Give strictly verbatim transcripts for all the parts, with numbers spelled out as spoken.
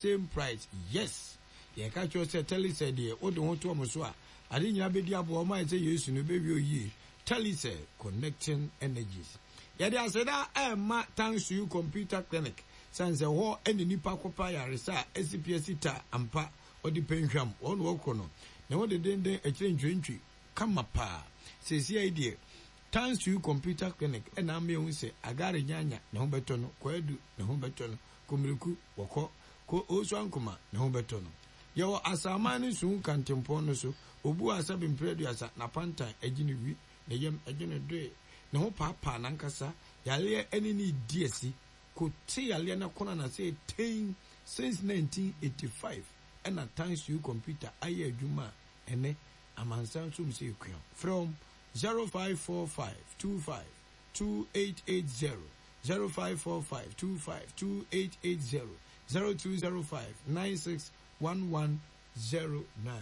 Same price, yes. Yɛka kyerɛ sɛ Telecel deɛ, wode ho to ɔmo so a, ade nyinaa bɛdi aboa ɔmo ayɛ sɛ Yesu no bɛwie oyie. Telecel, connecting energies. Yɛde aseda ɛma Thanks to You Computer Clinic sane sɛ hɔ ɛne nipa kɔpa yaresa a ɛsi pia si ta ampa. Ɔde pɛnhwam wɔn na wɔkɔ no ne ho dedenden akyire ntwentwi kama paa. Seesia yi deɛ, Thanks to You Computer Clinic ɛna ama ehu sɛ Agare Nyanya ne ho bɛtɔ no, Kwadu ne ho bɛtɔ no, Komiriku wɔkɔ ko Osu Ankoma ne ho bɛtɔ no. Yɛwɔ Asaman ne Suhum kantempɔn no so. Obu a sɛbe mpere aduasa n'apantan agye ne wi, ne yam agye ne doe, ne ho paapaa n'ankasa yareɛ ɛne ne di asi ko te yareɛ no kono na sɛ ten since nineteen eighty-five ɛna Thanks to You Computer ayɛ adwuma a ɛnɛ amansan nso mu sɛ ekua. Frɛ zero five four five two five two eight eight zero, zero five four five two five two eight eight zero, zero two zero five nine six one one zero nine.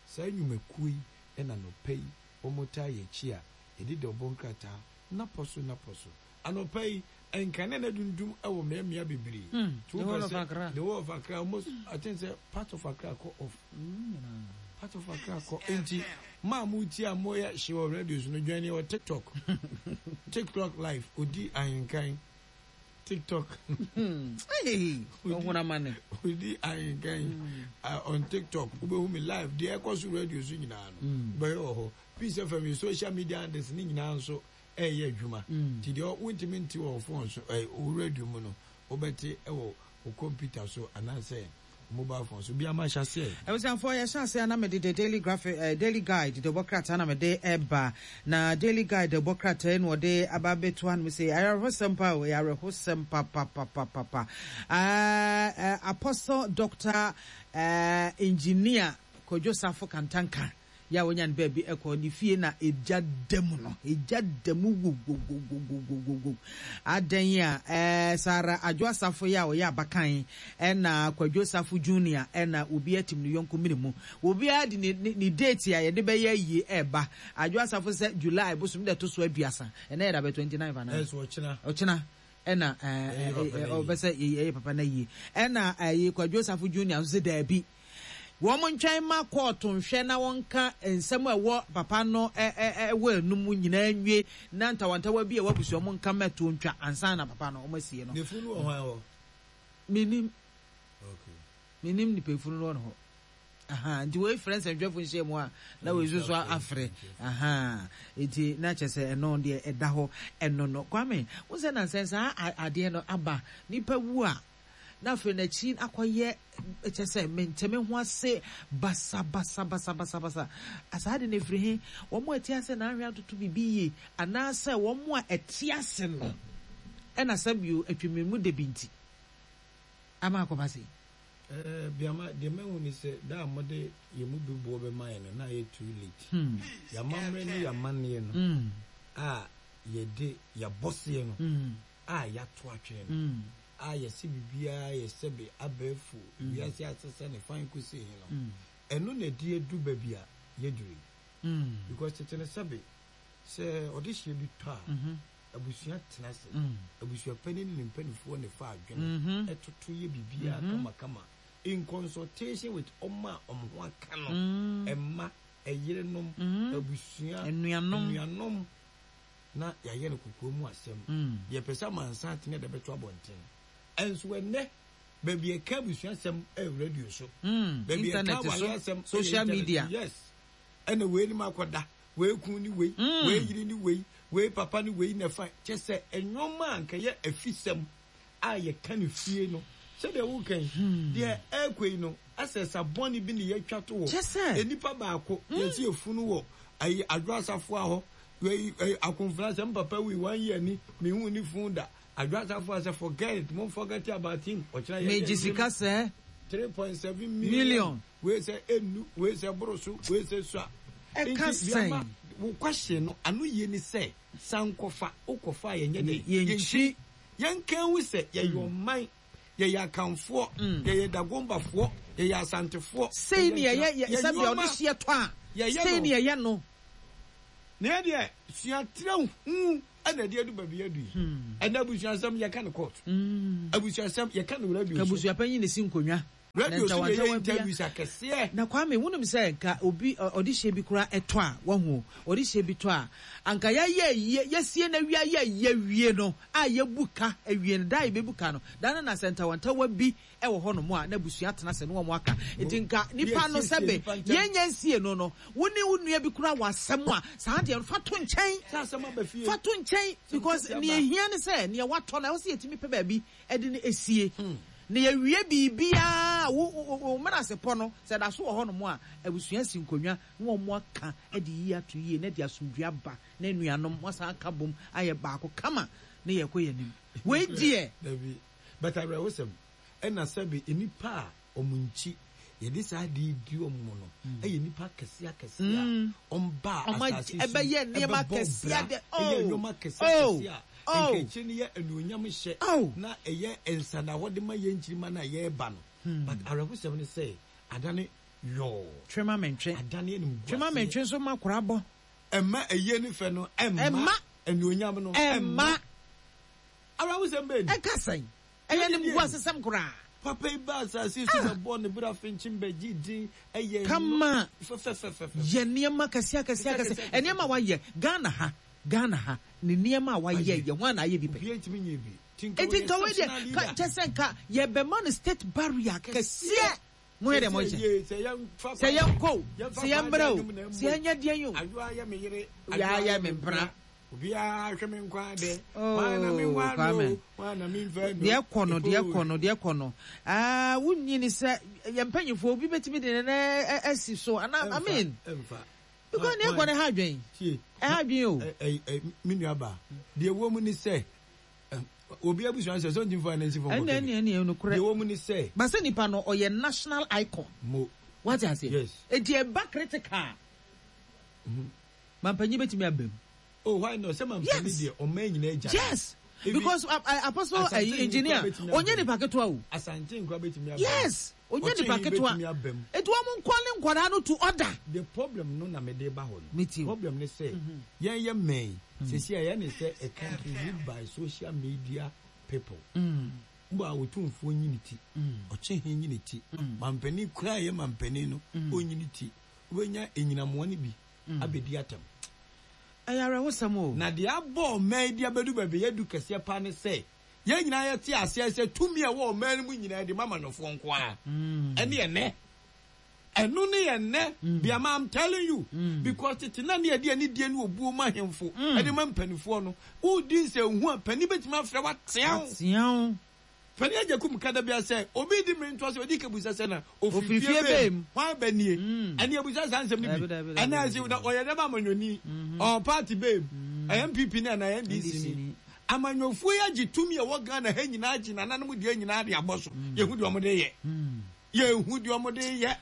Saa nnwumakuo yi ɛna nɔpɛ yi wɔn taa yɛ akyi a yɛde de ɔbɔ nkrataa napɔ so napɔ so. Anɔpɛ yi, nkanea na dundum ɛwɔ mmeammea bebree. The whole of Accra. The whole of Accra almost, I think sɛ part of Accra kɔ off, part of Accra kɔ. Nti maa mo ti a mo yɛ hye wɔ radio so no, dwan ni wɔ TikTok, TikTok live odi ahenkan TikTok. Ohun amane. Odi ahenkan uh, on TikTok, wobɛhu me live. Deɛ ɛkɔ so radio so nyinaa no, wobɛyɛ wɔ hɔ. Peace F M yɛ social media handles ne nyinaa nso ɛyɛ adwuma, nti deɛ wontumi nte wɔ phone so, ɛ wo radio mu no, wobɛte ɛwɔ wo computer so anaasɛ mobile phone so bi ama hyɛ aseɛ. Abusuafoɔ, yɛhyɛ ase a na mede the Daily Graphic, uh, Daily Guide de bɔ krataa na mede ɛba. Na Daily Guide de bɔ krataa na ɔde aba abɛto hanom sɛ awerɛhosɛm pa o, ɛyɛ awerɛhosɛm papapapapa. uh, uh, apostle Doctor uh, Engineer Kwadwo Safo Kantanka yɛ a wonya no baabi ɛkɔ ne fie na egya da mu no, egya da mu wowowowowowowo. Adan a ɛɛ Sara Adwo Asafo yi a ɔyɛ abakan, ɛna Kwadwo Safo Junior, ɛna obi atim ne yɔnko mene mu, obiara de ne ne ne date a yɛde bɛyɛ yie ɛɛba. Adwo Asafo sɛ July bosom de ɛto so aduasa, ɛnɛ yɛ dabɛ twenty nine fana. Ɛsɛ ɔkyena. Ɔkyena ɛna ɛɛ Ɛyɛ papa na yie. Ɔbɛsɛ ɛyɛ papa na yie, ɛna ɛyɛ Kwadwo Safo Junior nso sɛ daabi, wɔn ntwɛn ma kɔɔto nhwɛ na wɔnka nsɛm a ɛwɔ papa no ɛ ɛ ɛwɔ enum nyinaa nwie, na ntawantawa bi a ɛwɔ abusua mu nka mɛto ntwa ansa na papa no wɔn asie no. Ne funu wɔ hwan hɔ? Minim. Okay. Minim nipa efunu no wɔ ne hɔ. Aha, nti wei frɛ nsɛntwerɛfo nhyia mu a, na wei nso so afrɛ. Aha, nti na kyerɛ sɛ ɛno deɛ ɛda hɔ. Ɛno no, Kwame, wo sɛ nansɛn saa adeɛ no aba, nipa wu a, na afei n'akyi akɔyɛ kyɛ sɛ mentɛme ho ase basabasabasabasabasa. Asaa de no efiri he? Wɔn a ɛte ase na ahwɛ atoto biribi yie, anaasɛ wɔn a ɛte ase no ɛna sɛbio atwamimu de bi nti ama akɔba se? ɛɛ biama deɛ mɛhu ni sɛ da a mɔde yɛn mu bi boɔ bɛma yɛn no, na ayɛ too late. Hmm. Yɛamammerɛ ne yɛamanneɛ no Mm. a yɛde yɛabɔseɛ no Mm. a yɛato atwene no Mm. a yɛsɛ biribiara yɛsɛbe abɛɛfo wiase asesɛ ne fan kɔsi he no, Mm. ɛno na ɛde adu baabi a yɛduru yi, Mm. because tete no, sɛbe, sɛ ɔde hyɛ bi tɔ a, Mhm. abusua tena ase, Mm. abusua panin ne ne mpanimfoɔ ne fa adwene Mhm. ɛtoto yɛ biribiara kamakama in consultation with ɔmo a ɔmo ho aka no, Mm. ɛma ɛyerenom, Mhm. abusua, anuanom, anuanom, na yɛayɛ no kokoa mu asɛm. Mm. Yɛpɛ sɛ amansa atene de bɛto abɔnten. Ɛnso ɛnɛ baabi ɛka abusua asɛm ɛyɛ radio so, Mm. baabi ɛka internet awale so asɛm ɛyɛ social internet. media. Yes, ɛna wei ni mu akɔda, wei kun ni wei, Mm. wei yiri ni wei, wei papa ni wei, na fa kyɛ sɛ ɛnwoma a nkɛyɛ afisɛm a yɛka ne fie no, sɛdeɛ woka yi deɛ ɛɛkɔ yi no, asɛ sabɔne bi ne yɛatwa to hɔ. Kyɛ sɛ enipa baako yɛsi efunu wɔ ayi Adwo Asafoa hɔ, wei ɛyi akonfra sɛ mpapa wi one year ni mihu ni fun da Adwo Asafoa sɛ forget it, mo forget about him, ɔkyerɛ yɛ megye sika sɛ three point seven million. Million. Wei sɛ enu, wei sɛ boro so, wei sɛ sua. Ɛka Nti, sɛn? Biama, wo question no ano yie ni sɛ sankɔfa wokɔfa a, yɛnyɛ dɛ yɛnkyi. Yɛnka hu sɛ yɛyɛ ɔman, yɛyɛ Akanfoɔ, yɛyɛ Dagombafoɔ, yɛyɛ Asantefoɔ. Sei ne yɛyɛ yɛ sɛbea ɔde nneɛma hyeɛ tɔ a, yɛyɛ sei no. ne yɛyɛ no. Na yɛ deɛ suatrɛ hu ɛna ɛde adu baabi adu yi. Ɛna abusuasɛm yɛka no court, abusuasɛm yɛka no radio so. Abusuapanyin ne si nkonnwa. Radio so ntawantawa yɛ bia- interviews akɛseɛ. Na Kwame, wonim sɛ nka obi ɔ- ɔde hyɛ bi koraa ɛtɔ a, wahu ɔde hyɛ bi tɔ a, anka yɛayɛ yie, yɛsie no awie, ayɛ yie awie no a, yɛbu ka awie no da a, yɛbɛbu ka no da no, na sɛ ntawantawa bi ɛwɔ hɔ nom a, na abusua tena sɛ ne wɔn aka. Nti nka nipa no Yɛsiesie sɛbe nipa nkyɛn. Yɛnyɛ nsie no no wo ne wo nua bi koraa wɔ asɛm a, saa deɛ no fa to nkyɛn. Sɛ asɛm aba fie. Fa to nkyɛn, because kɛseɛ aba. Nea ehia ne sɛ nea watɔ no, ɛwɔ sɛ yɛtumi pɛ baabi ɛde no esie na yɛwie biribiara. Wo wo wo mmenasepɔ no sɛ da so wɔ hɔnom a, abusua si nkonnwa na wɔn aka de yie ato yie na de asomdwe aba na anuanom wɔasan aka bom ayɛ baako kama na yɛkɔ yɛn anim. Wei deɛ Dabi, but awerɛhosɛm ɛna sɛbe nnipa a ɔmo nkyi yɛde saa de di ɔmo no ɛyɛ nnipa akɛseɛ akɛseɛ a ɔmba Ɔmo asase so ɛbɛyɛ nneɛma ɛbɛbɔ akɛseɛ bra, de- ɛyɛ oh, nneɛma akɛseɛ oh, akɛseɛ a oh. nkakyire no yɛ anuonyam hyɛ Oh. na ɛyɛ nsanahɔ de ma yɛn nkyirima no a yɛreba no. But awerɛhosɛm ne sɛ adane yɔɔ. Twema mentwe. Adane anim Twema mentwe nso ma kora bɔ. Ɛmma ɛyɛ ne fɛ no ɛmma. Ɛmma. Anuonyam no ɛmma. Awerɛhosɛm bɛɛ ni. Ɛka sɛn ɛyɛ ne mgu asesɛm koraa. Papa yi ba asase so bɛbɔ ne bere afenkyen bɛgye din ɛyɛ Kama. Fɛfɛfɛfɛ. Yɛ nneɛma kɛseɛ akɛseɛ akɛseɛ, nneɛma a wayɛ Ghana ha, Ghana ha ne nneɛma a wayɛ yɛ ho ana ayɛ bi pɛ. Obiara ntumi nyɛ bi. Eti nka wei deɛ ka kyɛ sɛ nka yɛbɛma no state burial kɛseɛ. Mo yɛ dɛ mo nkyɛn sɛ sɛ yɛnkɔ o, sɛ yɛmbrɛ o, sɛ yɛnyɛ deɛ yi o. Adwoa yɛ me yere. Obiara yɛ me mpena. Obiara hwɛ me nkwa dɛ. Oh, Hwan na me nwa Kwame. no, hwan na me nfa no? Deɛ kɔ no, deɛ kɔ no, deɛ kɔ no, aa, wunyi ni sɛ yɛn mpanyinfoɔ obi bɛtumi de ne nan ɛ- asi so ana? I mean, ɛmfa because deɛ kɔ no ha adwen. Tie. Ɛha adwen o. ɛ ɛ ɛ me nua ba, deɛ ɛwɔ mu ni sɛ ɛ, obi abusua sɛ sɛ ɔntumi fa ne nsi fam. ɛnna ɛnna ɛnna ɛnokorɛ. Deɛ ɛwɔ mu ni sɛ basa nipa no ɔyɛ national icon. Mo wate ase? Yes. Eti ɛba critical, mampanyin bɛtumi aba mu. Oh, why not? Sɛ mampanin Yes. deɛ, ɔman nyinaa gya. Yes, Even- because uh, uh, apostle Asante uh, engineer nkura bɛtumi aba onye mu. nipa ketewa o. Asante nkura bɛtumi aba mu. Yes, onye Ɔkyɛn nipa ketewa. bɛtumi aba mu. Eti wɔn nkɔle nkwadaa no to order. The problem no na mede ba hɔ no, Me too. problem ne sɛ yɛn yɛ mmɛn sisi a yɛn ne sɛ a country ruled by social media people mbɔ a otumfuo nyi ne ti, ɔkye he nyi ne ti, mampanin kura a yɛ mampanin no ɔnyi ne ti, wobɛnya enyinamoa no bi abɛdi atam. Ɛyɛ awerɛhosɛm o. Na deɛ abɔ ɔman yi de abɛdu baabi yɛdu kɛseɛ paa ne sɛ yɛn nyinaa yɛte aseɛ sɛ tumi a ɛwɔ ɔman no mu nyinaa de ma amanyɔfoɔ nko ara. Ɛne ɛnɛ ɛno ne yɛ nnɛ biama, I'm telling you, because tete na ne yɛde ani die ne obuo ma ahemfo ɛde ma mpanimfoɔ no, wodi nsɛnhu a, panin bɛtumi afrɛ watea wo. Atea. Panin agya kum kada bia sɛ obi di mmiri ntoa sɛ odi kebusa sɛ na ofiri ofiri fie fie bɛm. Bɛm hwan bɛ nie ɛne ebusa saa nsɛm no Dabi, bi. dabi, dabi, ɛna dabi, ɛsɛ na ɔyɛ dɛm amanyɔni ɔɔ party bɛm ɛyɛ N P P ne ɛna N D C ni. Amanyɔfoɔ yi agye tumi a ɛwɔ Ghana ha nyinaa, agye nananom deɛ nyinaa de abɔ so. Yɛhu deɛ ɔmo de yɛ, yɛhu deɛ ɔmo de yɛ.